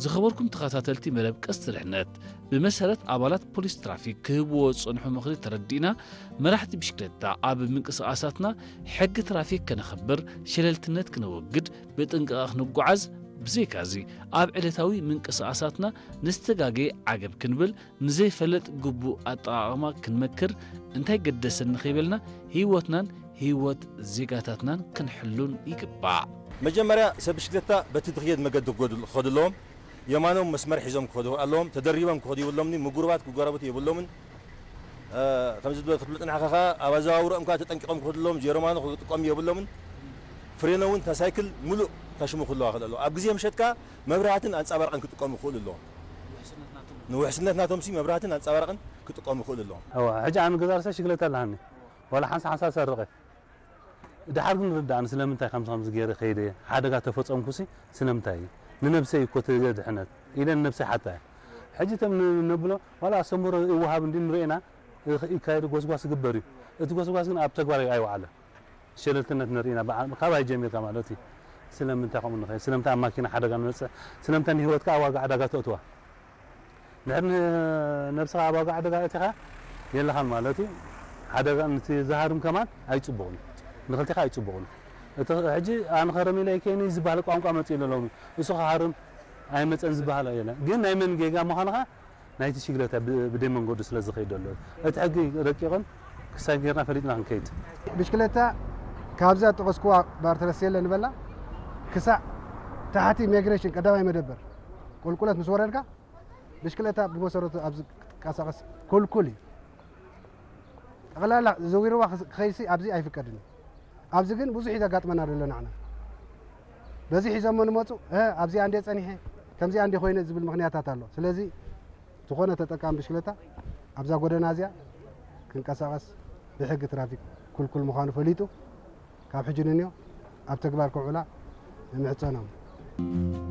ዝኸበርኩም ተኸታተልቲ መደብ ቀስቲ ድሕነት፣ ብመሰረት ኣባላት ፖሊስ ትራፊክ ክህብዎ ዝጸንሑ ምኽሪ ተረዲእና፣ መራሕቲ ብሽክለታ ኣብ ምንቅስቓሳትና ሕጊ ትራፊክ ከነኽብር፣ ሸለልትነት ክነወግድ፣ ብጥንቃቐ ክንጓዓዝ፣ ብዘይካዚ ኣብ ዕለታዊ ምንቅስቓሳትና ንዝተጋገየ ዓገብ ክንብል፣ ንዘይፈለጥ ግቡእ ኣጠቓቕማ ክንመክር፣ እንታይ ገደሰኒ ከይበልና ህይወትናን ህይወት ዜጋታትናን ክንሕሉን ይግባእ። መጀመርያ ሰብ ብሽክለታ በቲ ትኽየድ መገዲ ክገዱ-፣ ክኸዱ ኣለዎም። የማኖም መስመር ሒዞም ክኸዱ ኣለዎም። ተደሪቦም ክኸዱ የብሎምን። ምጉርባት ክጎራበቱ የብሎምን። እ፣ ከምዚ ዝበለ ክትብሎ ጽኒሕካ ከኣ ኣብ ኣዘዋውሮኦም ከኣ ተጠንቂቖም ክኸዱ ኣለዎም። ዜሮ ማኖ ክጥቀሙ የብሎምን። ፍሬኖ እውን እታ ሳይክል ሙሉእ ከሽሙ ክህልዋ ክኽእል ኣለዎ። ኣብ ግዜ ምሸት ከኣ መብራህትን ኣንጸባራቕን ክጥቀሙ ክኽእሉ ኣለዎም። ንውሕስነት ናቶም ሲ መብራህትን ኣንጸባራቕን ክጥቀሙ ክኽእሉ ኣለዎም። እዋ፣ ሕጂ ኣነ ገዛ ርእሰይ ሽግለታ ኣለሃኒ። ዋላ ሓንሳ ሓንሳ ሰርቐ። ድሓር ግን ርዳእኒ ስለምንታይ ከምዚ ከምዚ ገይረ ከይደ ሓደጋ ተፈጸምኩሲ ስለምንታይ እዩ? ንነብሰይ እኮ ተድሕነት ኢለ ንነብሰይ ሓታ እየ። ሕጂ እቶም ን-፣ ነብሎ ዋላ ኣስተምህሮ ይወሃብ እንዲ ንርእና ይኸ-፣ ይካየድ ጎስጓስ ይግበር እዩ። እቲ ጎስጓስ ግን ኣብ ተግባር ኣይወዓለን። ሸለልትነት ንርኢና ብዓ-፣ ካባይ ጀሚርካ ማለት እዩ። ስለምንታይ ከምኡ ንኸይድ? ስለምንታይ ኣብ ማኪና ሓደጋ ንበጽሕ? ስለምንታይ ንህይወትካ ኣብ ዋጋ ዕዳጋ ተእትዋ? ድሕሪ ን-፣ ነብስኻ ኣብ ዋጋ ዕዳጋ ኣእቲኻ የለኻን ማለት እዩ። ሓደጋ ንቲ ዝሃርም ከማን ኣይጽቡቕን እዩ። ንኽልቴኻ ኣይጽቡቕን እዩ። እቲ ሕጂ ኣነ ኸረም ኢለ ኣይከይን እዩ ዝበሃል ቋንቋ መጺኡ ኣሎ ሎሚ። እሱ ኸሃርም ኣይመጸን ዝበሃል የለን። ግን ናይ መን ጌጋ ምዃንኻ ናይቲ ሽግለታ ብ-፣ ብደይ መንገዱ ስለ ዝኸይድ ዘሎ። እቲ ሕጊ ረቂቕን ክሳይ ጌርና ፈሊጥና ክንከይድ። ብሽክለታ ካብዛ ጠቐስኩዋ ባርተረስየለ ንበላ ክሳዕ ታሕቲ ኢሚግሬሽን ቀዳማይ መደበር ቁልቁለት ምስ ወረድካ ብሽክለታ ብመሰረቱ ኣብዚ ክትንቀሳቐስ ክልኩል እዩ። ጠቕላላ ዘዊርዋ ክስ-፣ ክኸይድሲ ኣብዚ ኣይፍቀድን እዩ። ኣብዚ ግን ብዙሕ እዩ ዘጋጥመና ዘሎ ንዓና። በዚ ሒዞሞ ንመፁ፣ "እ፣ ኣብዚኣ እንዴ ፀኒሐ፣ ከምዚኣ እንዴ ኮይነ" ዝብል ምኽንያታት ኣሎ። ስለዚ ዝኾነ ተጠቃሚ ብሽክለታ ኣብዛ ጎደና እዚኣ ክንቀሳቐስ ብሕጊ ትራፊክ ክልኩል ምዃኑ ፈሊጡ ካብ ሕጂ ንንዮ ኣብ ተግባር ከውዕላ ንምሕጸኖም።